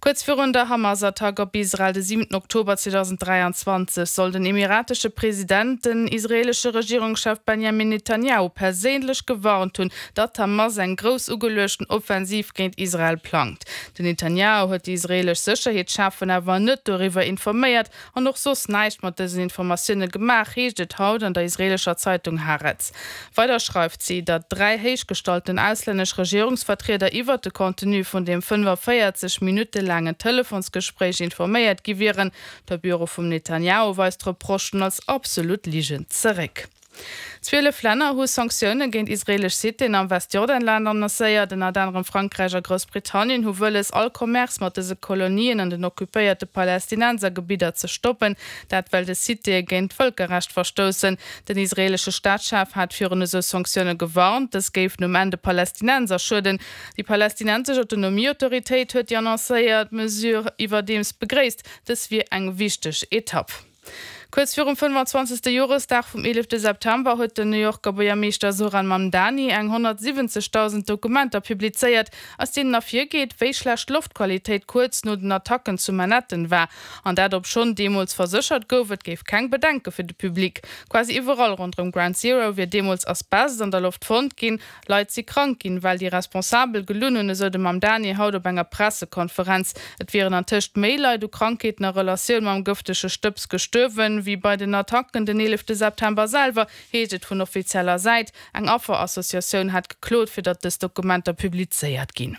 Kuerz virun der Hamas-Attack op Israel de 7 Oktober 2023 soll den emiratesche President den israeelesche Regierungschef Benjamin Netanjahu perséinlech gewarnt hunn, datt d'Hamas eng grouss ugeluechten Offensiv géint Israel plangt. Den Netanjahu huet déi israeelesch Sécherheetscheffen awer net doriwwer informéiert an och soss näischt mat dësen Informatioune gemaach, heescht et haut an der israeelescher Zeitung Haaretz. Weider schreift si, datt 3 héichgestallten auslännesch Regierungsvertrieder iwwert de Contenu vun deem 45 Minutte laangen Telefonsgespréich informéiert gi wieren. De Büro vum Netanjahu weist d'Reprochen als absolut Ligen zeréck. 12 Länner hu Sanktioune géint israeelesch Citéen am Westjordanland annoncéiert. Ënnert anerem Frankräich a Groussbritannien hu wëlles, all Commerce mat dëse Kolonien an den occupéierte Palästinensergebidder ze stoppen. Dat well des Citéë géint d'Vëlkerrecht verstoussen. Den israeelesche Staatschef hat virun esou Sanktioune gewarnt. Dës géifen um Enn de Palästinenser schueden. Déi palästinensesch Autonomieautoritéit huet déi annoncéiert Mesure iwwerdeems begréisst. Dës wier eng wichteg Etapp. Kuerz virum 25. Joresdag vum 11 September huet den New Yorker Buergermeeschter Zohran Mamdani eng 170.000 Dokumenter publizéiert, aus deenen ervirgeet, wéi schlecht d'Loftqualitéit kuerz no den Attacken zu Manhattan war. An dat obschonn deemools verséchert gouf, et géif keng Bedenke fir de Public. Quasi iwwerall ronderëm Ground Zero wier deemools Asbest an der Loft fonnt ginn. Leit si krank ginn, well déi Responsabel gelunn hunn, esou de Mamdani haut op enger Pressekonferenz. Et wieren antëscht méi Leit u Krankheeten a Relatioun mam gëftege Stëbs gestuerwen, wéi bei den Attacken den 11 September selwer, heescht et vun offizieller Säit. Eng Afferassociatioun hat geklot, fir datt dës Dokumenter publizéiert ginn.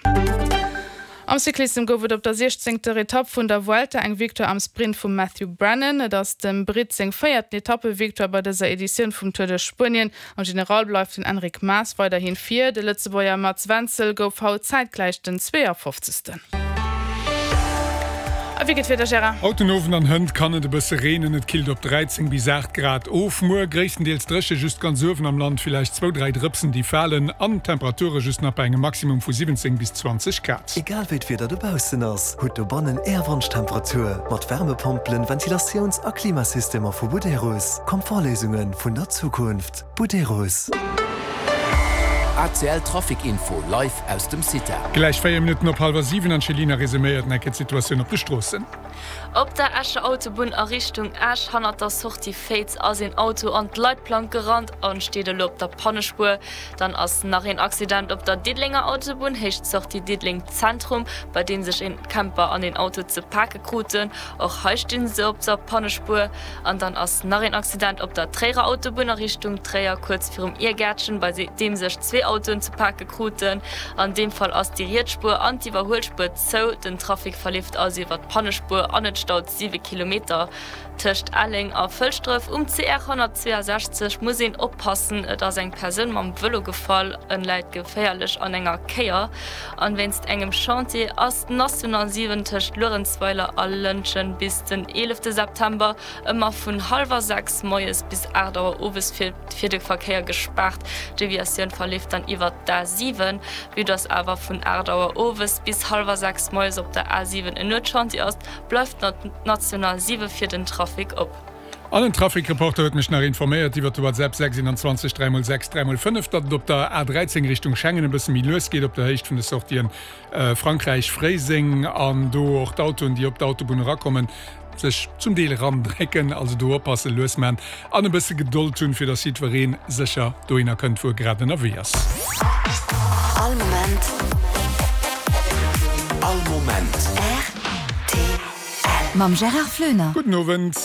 Am Cyclissem gouf et op der siechzéngter Etapp vun der Vuelta eng Victoire am Sprint vum Matthew Brennan. Et ass dem Britt seng véierten Etappevictoire bei dëser Editioun vum Tour de Spuenien. Am General bleift den Enric Mas weiderhin vir. De Lëtzebuerger Mats Wenzel gouf haut zäitgläich den 52. A wéi geet d'Wieder, Gérard? Haut den Owend an hënt kann et e bësse reenen, et killt op 13 bis 8 Grad of. Muer gréisstendeels dréche, just ganz uewen am Land villäicht zwou, dräi Drëpsen déi falen an Temperature just nach bei engem Maximum vu 17 bis 20 Grad. Egal wéi d'Wieder dobaussen ass, hutt dobannen Är Wonschtemperatur mat Wärmepompelen, Ventilatiouns a Klimasystemer vu Buderus. Komfortléisunge vun der Zukunft. Buderus. ACL Trafic Info live aus dem CITA. Gläich 4 Minutten op hallwer 7 an d'Chelina resuméiert enke d'Situatioun op de Stroossen. Op der Escher Autobunn a Richtung Esch, hannert der Sortie Féiz, ass een Auto an d'Leitplank gerannt an steet elo op der Pannespuer. Dann ass nach een Accident op der Diddelenger Autobunn, Héicht Sortie Diddeleng Zentrum, bei deem sech een Camper an een Auto ze pake kruten. Och hei stinn se op der Pannespuer. An dann ass nach een Accident op der Tréierer Autobunn a Richtung Tréier, kuerz virum Iergäertchen, bei deem sech zwee Autoen ze pake kruten. An deem Fall ass déi riets Spuer an d'Iwwerhuelspuer zou. Den Trafic verleeft also iwwer d'Pannespuer an et staut 7 Kilometer tëscht Elleng a Fëlschdref. Um CR 162 muss een oppassen, et ass eng Persoun mam Vëlo gefall, en läit geféierlech an enger Kéier. An wéinst engem Chantier ass d'National 7 tëscht Luerenzweiler a Lëntgen bis den 11 September ëmmer vun hallwer 6 moies bis 8 Auer owes fir fir de Verkéier gespaart. D'Deviatioun verleeft dann iwwert d'A7. Vue dass awer vun 8 Auer owes bis hallwer 6 moies op der A7 en Nuetschantier ass, bleift d'National 7 fir den Trafic op. An en Trafic-Reporter huet mech nach informéiert iwwert de WhatsApp 621 3 x 6 3 x 5, datt et op der A13 Richtung Schengen e bësse méi lues geet op der Héicht vun de Sortien Frankräich, Fréiseng an do och d'Autoen, déi op d'Autobunn erakommen, sech zum Deel erandrécken. Also do oppassen, lues man an e bësse Gedold hunn, fir datt jiddweree sécher dohinner kënnt, wou e grad ënnerwee ass. All Moment. All Moment. Rtl. Mam Gérard Floener. Gudden Owend.